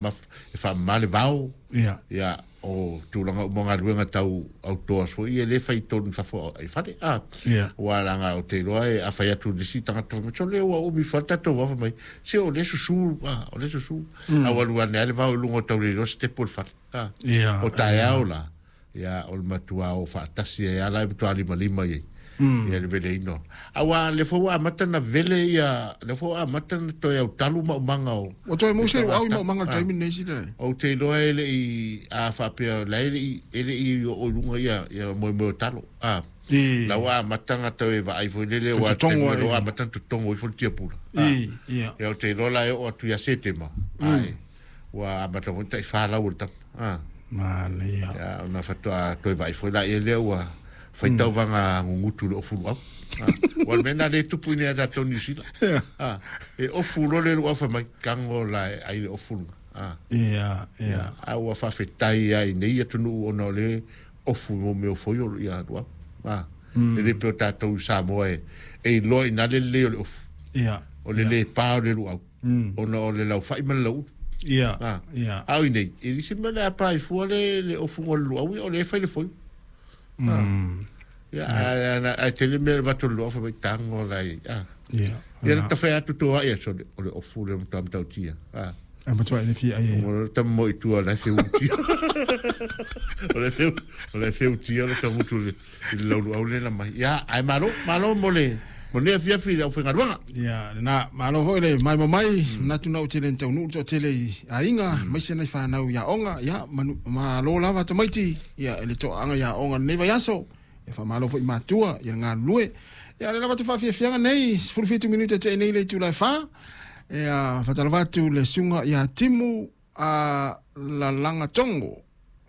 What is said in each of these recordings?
E faamama le vao. Ia, o tulaga uma o galuega tau outdoors foi ia, e le fai i totonu i fafo i fale. A, aua leaga ou te iloa e, a fai atu i le isi tagata fai mai, sole ua umi fua le tatou vao, fai mai, se o lea e susu, a, o lea e susu. A ua alu ane lava le vao i luga o tau le iloa sitepu o le fale. A, o taeao la, Ia, o le matua o faatasi ai lava la e matua limalima i ai ia le veleina. Aua lea foi ua amata ona vele ia, lea foi ua amata ona toe autalu maumaga o. Ua toe maua se luau i maumaga i le taimi lenei sila. Ou te iloa e le i, a faapea o la e le i, e le i oo i luga ia, ia moemoe o talo. A, la ua amata ona toe vaai foi lele, ua ua amata ona totogo ifo le tiapula. Ia, ou te iloa la e oo atu ia Setema. Ae. Ua amata foi tai 4 lau o le tama. Ah. Manaia. Ia, ona faatoa toe vaai foi laia lea ua fai tauvaga gugutu i le ofu luau. Ah. Ua le mea lena lea e tupu i inei ia tatou Niu Sila. Ah. E ofu loa le luau fai mai, tago la e ai le ofu lena. Ah. Ia, ia. A ua faafetai lava i nei atunuu ona o le ofu i mea o foio ia luau. Ah. E le pei o tatou i Samoa e iloa i ina le lelei o le ofu. Ia. O le le pa o le luau. Ona o le laufai ma le lauulu. Ia, ah. Ia. A o inei, e leai se mea o le a pa ai fua le, le ofuga o le luau, ia o lea e fai le foio. Ia, ae tele mea e avatu e le luau fai mai tago la i, ah. Ia. Ia le tafe atu to ai aso o le ofu le matua matautia. Ah. E matua e fia ai. O le tama mo i tua la e feutia. O le feu, o le feutia le tamutu le i le lauluau lea na mai. Ia, ae malo, malo mo le mo lenei afiafi i le aufaigaluega. Ia, lena, malo foi le maimoa mai, manatu na ou tele na taunuu le toatele i aiga, aemaise nai fanau i aoga, ia, manu, malo lava tamaiti, ia, i le toaaga i aoga i lenei vaiaso, ia, faamalo foi i matua, ia, le galulue. Ia, o lea lava atu faafiafiaga nei, 17 minute tea nei le itula e 4, ia, faatalofa atu le susuga ia Timu a Lalaga Tongo,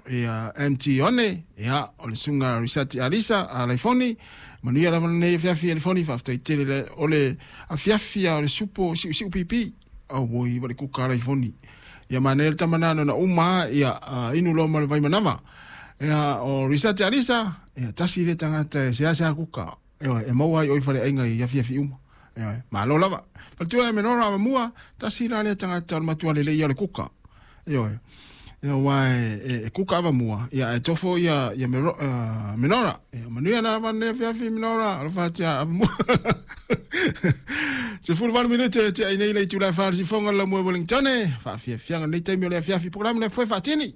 ia MT One, ia o le susuga Risati Alisa a Laifoni, manuia lava lenei afiafi Alifoni, faafetai tele le, o le afiafi a o le supo siusiu pipi, auoi wa le kuka a Laifoni. Ia manaia le tama nana na uma ia inu loa ma le vaimanava. Ia o Risati Alisa, ia tasi le tagata e seasea kuka. Ioe, e maua ai oi faleaiga i afiafi uma. Ioe, malo lava. Faletua e Menora Avamua, tasi la lea tagata o le matua lelei ia o le kuka. Ioe. Ia aua e, e, e kuka Avamua, ia ae tofo ia, ia Mero, Menora. Ia, manuia lava lenei afiafi Menora, alofa atu ia Avamua. 18 minute e tea ai nei le itula e 4 le sifoga o le Laumua i Wellington. Faafiafiaga lenei taimi o le afiafi polokalame le foe faatini.